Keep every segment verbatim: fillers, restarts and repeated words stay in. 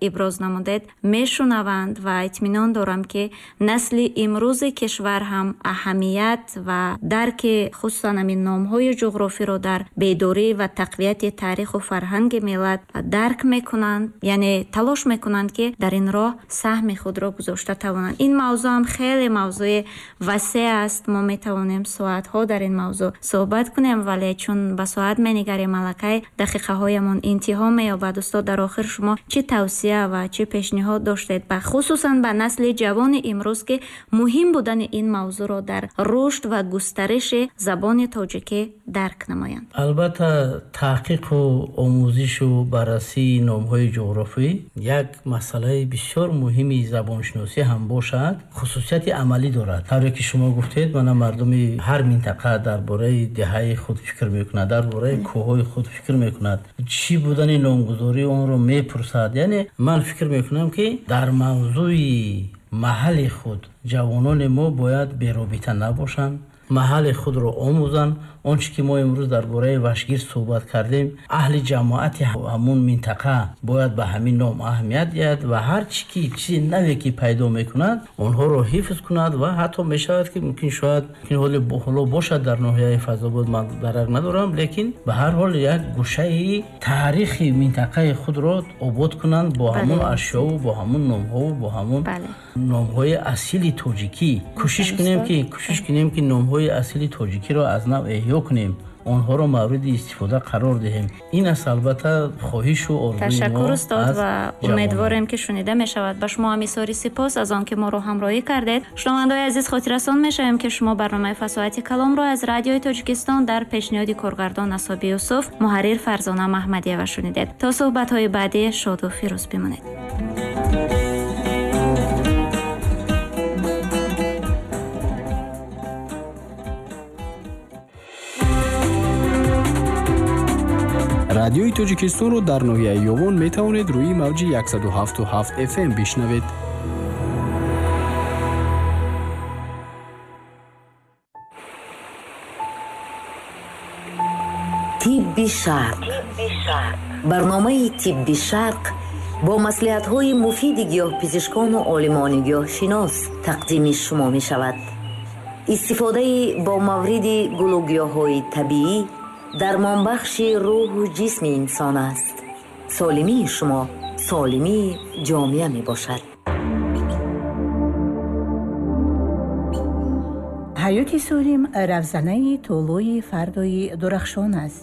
иброз намудед, мешунаванд ва итминон дорам, ки насли имрӯзи кишвар ҳам аҳамият ва дарки хусусан ҳамин номҳои ҷуғрофиро дар бедорӣ ва тақвияти таъриху фарҳанги миллат дарк мекунанд, яъне талош мекунанд, ки дар ин роҳ саҳми худро гузошта тавонанд. Ин мавзӯъ ҳам хеле мавзӯи васеъ аст. Мо метавонем соатҳо дар ин мавзӯъ суҳбат кунем, вале чун ба соат менигарем, аллакай дақиқаҳоямон интиҳо меёбад. Устод, дар охир шумо чӣ тавсия ва чӣ пешниҳод доштед, ба хусусан ба насли ҷавони имрӯз, ки муҳим будани ин мавзӯъро дар рушд ва густариши забони тоҷикӣ дарк намоянд? Албатта, таҳқиқу омӯзишу баррасии номҳои ҷуғрофӣ як масъалаи бисёр муҳими забоншиносӣ ҳам бошад, хусусияти амалӣ дорад. Тавре ки шумо гуфтед, мана мардуми ҳар минтақа дар бораи деҳаи худ фикр мекунад, дар бораи кӯҳҳои худ фикр мекунад, чӣ будани номгузории онро мепурсад. Яъне ман фикр мекунам, ки дар мавзӯи маҳалли худ ҷавонони мо бояд беробита набошанд, маҳалли худро омӯзанд. Он чӣ ки мо имрӯз дар бораи Вашгир суҳбат кардем, аҳли ҷамоати ҳамун минтақа бояд ба ҳамин ном аҳамият диҳад ва ҳар чӣ ки чизи наве ки пайдо мекунад, онҳоро ҳифз кунад. Ва ҳатто мешавад, ки мумкин шояд ҳоло бошад дар ноҳияи Файзобод, ман дарак надорам, лекин ба ҳар ҳол як гӯшаи таърихи минтақаи худро обод кунанд бо ҳамун ашёву бо ҳамун номҳову бо ҳамун номҳои асили тоҷикӣ. Кӯшиш кунем ки кӯшиш кунем ки номҳои асили тоҷикиро аз нав эҳё кунем, онҳоро мавриди истифода қарор диҳем. Ин аст албатта хоҳишу орзуи мо. Ташаккур, устод, ва умедворем, ки шунида мешавад. Ба шумо ҳам изҳори сипос аз он ки моро ҳамроҳӣ кардед. Шунавандаои азиз, хотиррасон мешавем, ки шумо барномаи Фасоҳати каломро аз Радиои Тоҷикистон дар пешниҳоди коргардон Асоби Юсуф, муҳаррир Фарзона Маҳмадиева шунидед. То суҳбатҳои баъдӣ шоду фирӯз бимонед. Радиои Тоҷикистонро дар ноҳияи Ёвон метавонед рӯи мавҷи яксаду ҳафту ҳафт эф эм бишнавед. Тибби Шарқ. Барномаи Тибби Шарқ бо маслиҳатҳои муфиди гиёҳпизишкону олимони гиёҳшинос тақдими шумо мешавад. Истифодаи бо мавриди гулу гиёҳҳои табиӣ дармонбахши рӯҳу ҷисми инсон аст. Солимии шумо солимии ҷомеа мебошад. Ҳаёти солим равзанаи тӯлӯи фардои дурахшон аст.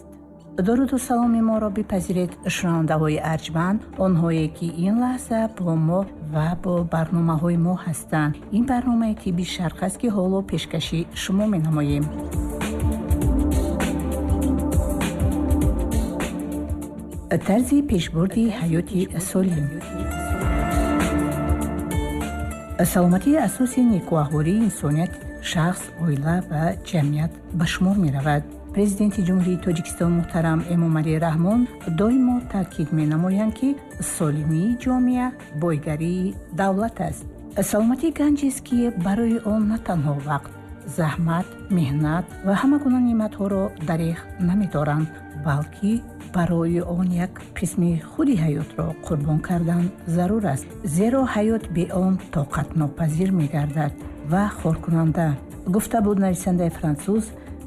Дуруду саломи моро бипазиред, шунавандаҳои арҷманд, онҳое ки ин лаҳза бо мо ва бо барномаҳои мо ҳастанд. Ин барномаи Тибби Шарқ аст, ки ҳоло пешкаши шумо менамоем. Тарзи пешбурди ҳаёти солим. Саломатии асоси некӯаҳвории инсоният, шахс, оила ва ҷамъият ба шумор меравад. Президенти Ҷумҳурии Тоҷикистон муҳтарам Эмомалӣ Раҳмон доимо таъкид менамоянд, ки солимии ҷомеа бойгарии давлат аст. Саломатӣ ганҷест, ки барои он на танҳо вақт, заҳмат, меҳнат ва ҳама гуна неъматҳоро дареғ намедоранд, балки барои он як қисми худи ҳаётро қурбон кардан зарур аст, зеро ҳаёт бе он тоқатнопазир мегардад ва хоркунанда, гуфта буд нависандаи франсуз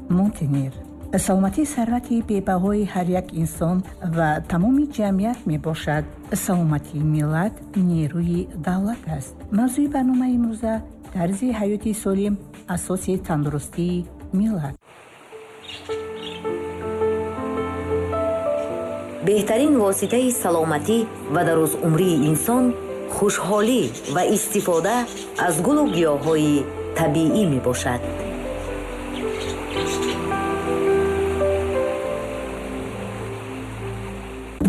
Монтеньер. Саломатӣ сарвати бебаҳои ҳар як инсон ва тамоми ҷамъият мебошад. Саломатии миллат нерӯи давлат аст. Мавзӯи барномаи имрӯза тарзи ҳаёти солим, асоси тандурустии миллат. Беҳтарин воситаи саломатӣ ва дарозумрии инсон хушҳолӣ ва истифода аз гулу гиёҳҳои табиӣ мебошад.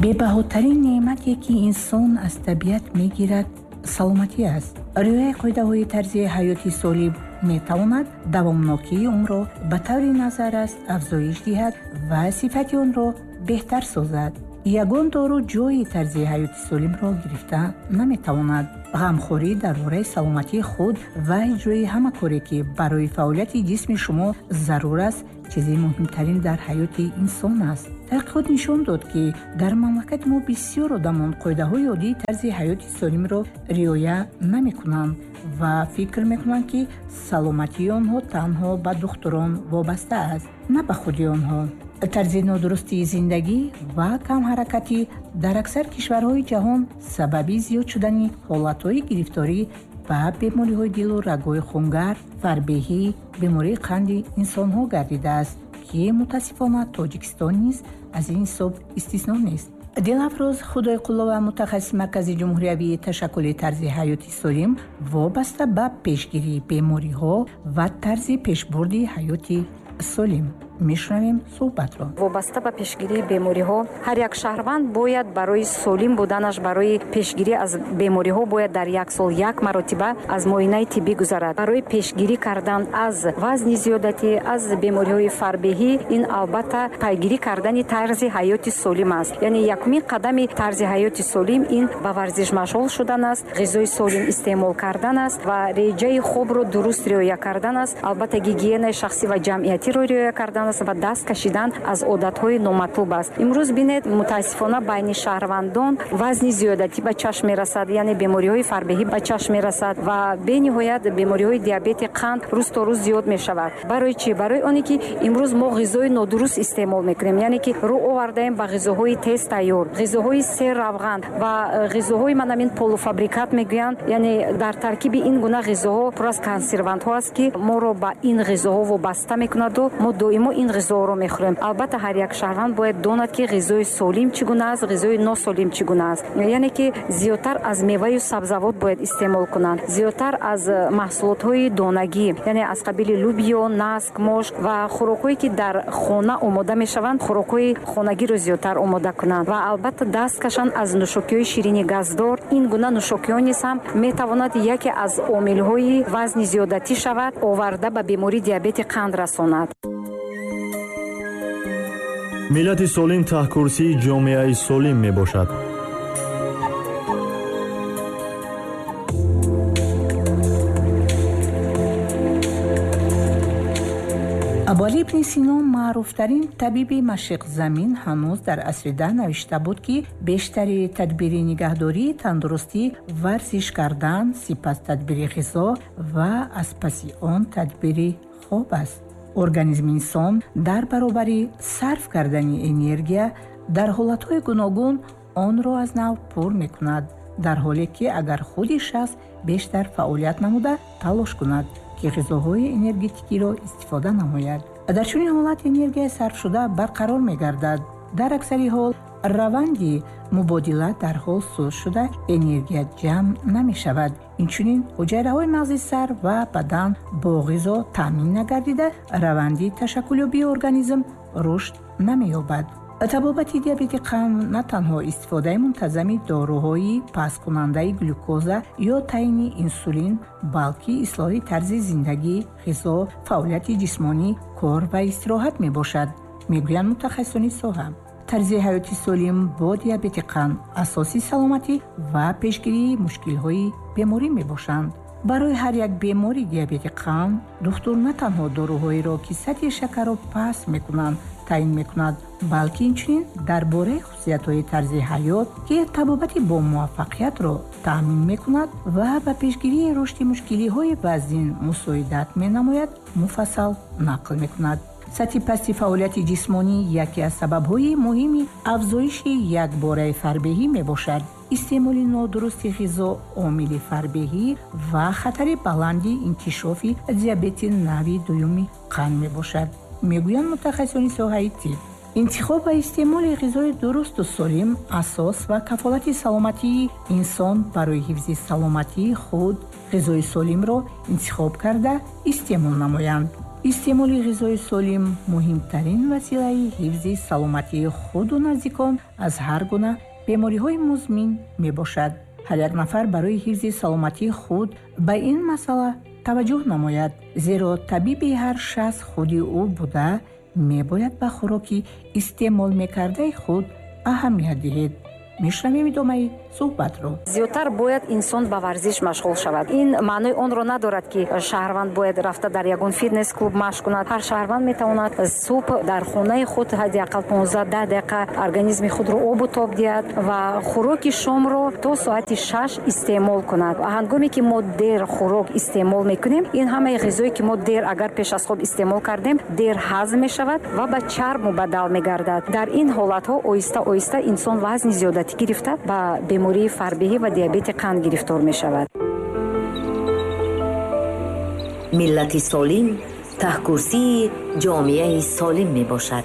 Бебаҳотарин неъмате, ки инсон аз табиат мегирад, саломатӣ аст. Риояи қоидаҳои тарзи ҳаёти солим метавонад давомнокии умрро ба таври назаррас афзоиш диҳад ва сифати онро беҳтар созад. Ягон дору ҷои тарзи ҳаёти солимро гирифта наметавонад. Ғамхорӣ дар бораи саломатии худ ва иҷрои ҳама коре, ки барои фаъолияти ҷисми шумо зарур аст, чизи муҳимтарин дар ҳаёти инсон аст. Таҳқиқот нишон дод, ки дар мамлакати мо бисёр одамон қоидаҳои оддии тарзи ҳаёти солимро риоя намекунанд ва фикр мекунанд, ки саломатии онҳо танҳо ба духтурон вобаста аст, на ба худи онҳо. Тарзи нодурусти зиндагӣ ва камҳаракатӣ дар аксар кишварҳои ҷаҳон сабаби зиёд шудани ҳолатҳои гирифторӣ ба бемориҳои дилу рагҳои хунгар, фарбеҳӣ, бемории қанди инсонҳо гардидааст, ки мутаассифона Тоҷикистон низ аз ин ҳисоб истисно нест. Дилафрӯз Худойқуллова, мутахассиси Маркази ҷумҳуриявии ташаккули тарзи ҳаёти солим вобаста ба пешгирии бемориҳо ва тарзи пешбурди ҳаёти солим. Мешунавем суҳбатро. Вобаста ба пешгирии бемориҳо, ҳар як шаҳрванд бояд барои солим буданаш, барои пешгирӣ аз бемориҳо бояд дар як сол як маротиба аз муоинаи тиббӣ гузарад. Барои пешгирӣ кардан аз вазни зиёдатӣ, аз бемориҳои фарбеҳӣ, ин албатта пайгирӣ кардани тарзи ҳаёти солим аст. Яъне якумин қадами тарзи ҳаёти солим ин ба варзиш машғул шудан аст, ғизои солим истеъмол кардан аст ва реҷаи хобро дуруст риоя кардан аст. Албатта гигиенаи шахсӣ ва ҷамъиятиро риоя кардан аст ва даст кашидан аз одатҳои номатлуб аст. Имрӯз бинед, мутаассифона байни шаҳрвандон вазни зиёдатӣ ба чашм мерасад, яъне бемориҳои фарбеҳӣ ба чашм мерасад ва бениҳоят бемориҳои диабети қанд рӯз то рӯз зиёд мешавад. Барои чӣ? Барои оне ки имрӯз мо ғизои нодуруст истеъмол мекунем, яъне ки рӯ овардаем ба ғизоҳои тез тайёр, ғизоҳои серравған ва ғизоҳои манамин полуфабрикат мегӯянд, яъне дар таркиби ин гуна ғизоҳо пур аз консервантҳо аст, ки моро ба ин ғизоҳо вобаста мекунаду мо доимо ин ғизоҳоро мехӯрем. Албатта ҳар як шаҳрванд бояд донад, ки ғизои солим чӣ гуна аст, ғизои носолим чӣ гуна аст. Яъне ки зиёдтар аз меваю сабзавот бояд истеъмол кунанд, зиёдтар аз маҳсулотҳои донагӣ, яъне аз қабили лубиё, наск, мош ва хӯрокҳое ки дар хона омода мешаванд, хӯрокҳои хонагиро зиёдтар омода кунанд ва албатта даст кашанд аз нӯшокиҳои ширини газдор. Ин гуна нӯшокиҳо низ ҳам метавонад яке аз омилҳои вазни зиёдатӣ шавад, оварда ба бемории диабети қанд расонад. Миллати солим таҳкурсии ҷомеаи солим мебошад. Абуалӣ ибни Сино, маъруфтарин табиби машриқзамин, ҳанӯз дар асри даҳ навишта буд, ки бештари тадбири нигаҳдории тандурустӣ варзиш кардан, сипас тадбири ғизо ва аз паси он тадбири хоб аст. Организми инсон дар баробари сарф кардани энергия дар ҳолатҳои гуногун онро аз нав пур мекунад, дар ҳоле ки агар худи шахс бештар фаъолият намуда талош кунад, ки ғизоҳои энергетикиро истифода намояд. Дар чунин ҳолат энергияи сарфшуда барқарор мегардад. Дар аксари ҳол раванди мубодила дар ҳол суст шуда энергия ҷамъ намешавад. Инчунин ҳуҷайраҳои мағзи сар ва бадан бо ғизо таъмин нагардида раванди ташаккулёбии организм рушд намеёбад. Табобати диабети қанд на танҳо истифодаи мунтазами доруҳои пасткунандаи глюкоза ё таъини инсулин, балки ислоҳи тарзи зиндагӣ, ғизо, фаъолияти ҷисмонӣ, кор ва истироҳат мебошад, мегӯянд мутахассисони соҳа. Тарзи ҳаёти солим бо диабети қанд асоси саломатӣ ва пешгирии мушкилҳои беморӣ мебошанд. Барои ҳар як бемори диабети қанд духтур на танҳо доруҳоеро, ки сатҳи шакарро паст мекунанд, таъин мекунад, балки инчунин дар бораи хусусиятҳои тарзи ҳаёт, ки табобати бомуваффақиятро таъмин мекунад ва ба пешгирии рушди мушкилиҳои вазнин мусоидат менамояд, муфассал нақл мекунад. Сатҳи пасти фаъолияти ҷисмонӣ яке аз сабабҳои муҳими афзоиши якбораи фарбеҳӣ мебошад. Истеъмоли нодурусти ғизо омили фарбеҳӣ ва хатари баланди инкишофи диабети нави дуюми қанд мебошад, мегӯянд мутахассисони соҳаи тиб. Интихоб ва истеъмоли ғизои дурусту солим асос ва кафолати саломатии инсон барои ҳифзи саломатии худ ғизои солимро интихоб карда истеъмол намоянд. Истеъмоли ғизои солим муҳимтарин василаи ҳифзи саломатии худу наздикон аз ҳар гуна бемориҳои музмин мебошад. Ҳар як нафар барои ҳифзи саломатии худ ба ин масъала таваҷҷӯҳ намояд, зеро табиби ҳар шахс худи ӯ буда мебояд ба хӯроки истеъмол мекардаи худ аҳамият диҳед. Мешунавем идомаи суҳбатро. Зиёдтар бояд инсон ба варзиш машғул шавад. Ин маънои онро надорад, ки шаҳрванд бояд рафта дар ягон фитнес клуб машқ кунад. Ҳар шаҳрванд метавонад субҳ дар хонаи худ ҳадди ақал понздаҳ даҳ дақиқа организми худро обу тоб диҳад ва хӯроки шомро то соати шаш истеъмол кунад. Ҳангоме ки мо дер хӯрок истеъмол мекунем, ин ҳамаи ғизое ки мо дер агар пеш аз хоб истеъмол кардем, дер ҳазм мешавад ва ба чарб мубаддал мегардад. Дар ин ҳолатҳо оҳиста оҳиста инсон вазни зиёдатӣ гирифта ба бемории фарбеҳӣ ва диабети қанд гирифтор мешавад. Миллати солим таҳкурсии ҷомеаи солим мебошад.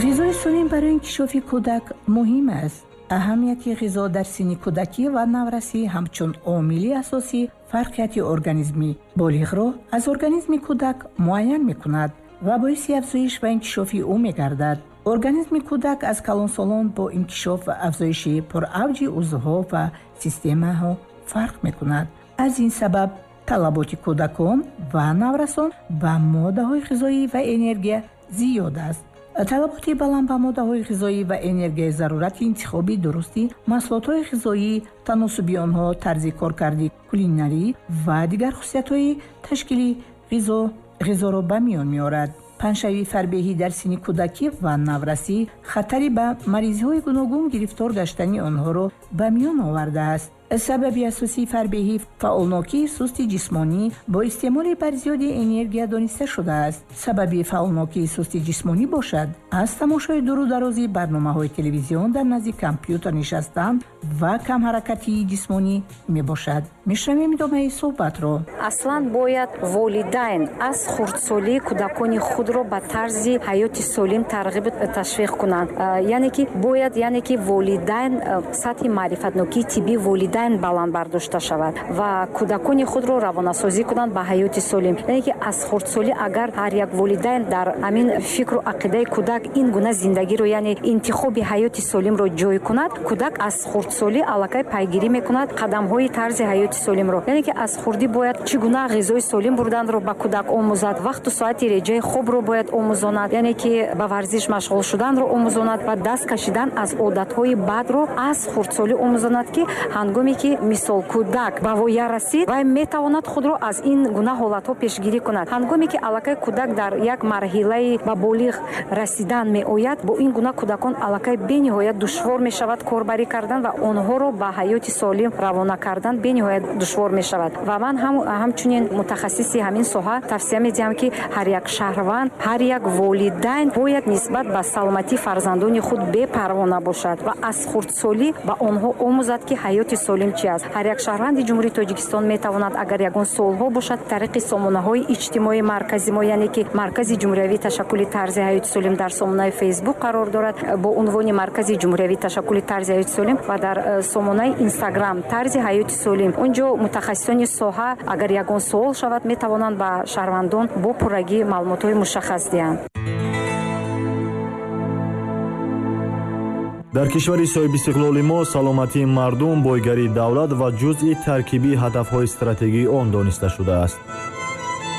Ғизои солим барои инкишофи кӯдак муҳим аст. Аҳамияти ғизо дар синни кӯдакӣ ва наврасӣ ҳамчун омили асосӣ фарқияти организми болиғро аз организми кӯдак муайян мекунад ва боиси афзоиш ва инкишофи ӯ мегардад. Организми кӯдак аз калонсолон бо инкишоф ва афзоиши пуравҷи узвҳо ва системаҳо фарқ мекунад. Аз ин сабаб талаботи кӯдакон ва наврасон ба моддаҳои ғизоӣ ва энергия зиёд аст. Талаботи баланд ба моддаҳои ғизоӣ ва энергияи зарурати интихоби дурусти маҳсулотҳои ғизоӣ, таносуби онҳо, тарзи коркарди кулинарӣ ва дигар хусусиятҳои ташкили ғизо ғизоро ба миён меорад. Паҳншавии фарбеҳӣ дар синни кӯдакӣ ва наврасӣ хатари ба маризиҳои гуногун гирифтор гаштани онҳоро ба миён овардааст. Сабаби асосии фарбеҳӣ фаъолнокии сусти ҷисмонӣ бо истеъмоли барзиёди энергия дониста шудааст. Сабаби фаъолнокии сусти ҷисмонӣ бошад аз тамошои дуру дарози барномаҳои телевизион дар назди компютер нишастан ва камҳаракатии ҷисмонӣ мебошад. Мешунавем идомаи суҳбатро. Аслан бояд волидайн аз хурдсолӣ кӯдакони худро ба тарзи ҳаёти солим тарғибу ташвиқ кунанд. Яъне ки бояд яъне ки волидайн сатҳи маърифатнокии тиббии волидайн баланд бардошта шавад ва кӯдакони худро равонасозӣ кунанд ба ҳаёти солим. Яъне ки аз хурдсолӣ агар ҳар як волидайн дар ҳамин фикру ақидаи кӯдак ин гуна зиндагиро, яъне интихоби ҳаёти солимро ҷой кунад, кӯдак аз хурдсолӣ аллакай пайгирӣ мекунад қадамҳои тарзи ҳаёти солимро. Яъне ки аз хурдӣ бояд чӣ гуна ғизои солим бурданро ба кӯдак омӯзад, вақту соати реҷаи хобро бояд омӯзонад, яъне ки ба варзиш машғул шуданро омӯзонад ва даст кашидан аз одатҳои бадро аз хурдсолӣ омӯзонад, ки ҳангоме ки мисол кӯдак ба воя расид, вай метавонад худро аз ин гуна ҳолатҳо пешгирӣ кунад. Ҳангоме ки аллакай кӯдак дар як марҳилаи ба болиғ расидан меояд, бо ин гуна кӯдакон аллакай бениҳоят душвор мешавад корбарӣ кардан ва онҳоро ба ҳаёти солим равона кардан бениҳоят душвор мешавад. Ва ман ҳамчунин мутахассиси ҳамин соҳа тавсия медиҳам, ки ҳар як шаҳрванд, ҳар як волидайн бояд нисбат ба саломатии фарзандони худ бепарво набошад ва аз хурдсолӣ ба онҳо омӯзад, ки ҳаёти солим чи аст. Ҳар як шаҳрванди Ҷумҳурии Тоҷикистон метавонад, агар ягон суолҳо бошад, тариқи сомонаҳои иҷтимоии маркази мо, яъне ки Маркази ҷумҳуриявии ташаккули тарзи ҳаёти солим дар сомонаи Фейсбук қарор дорад бо унвони Маркази ҷумҳуриявии ташаккули тарзи ҳаёти солим ва дар сомонаи Инстаграм тарзи ҳаёти солим. Онҷо мутахассисони соҳа агар ягон суол шавад, метавонанд ба шаҳрвандон бо пуррагӣ маълумотҳои мушаххас диҳанд. Дар кишвари соҳибистиқлоли мо саломатии мардум, бойгарии давлат ва ҷузъи таркибии ҳадафҳои стратегии он дониста шудааст.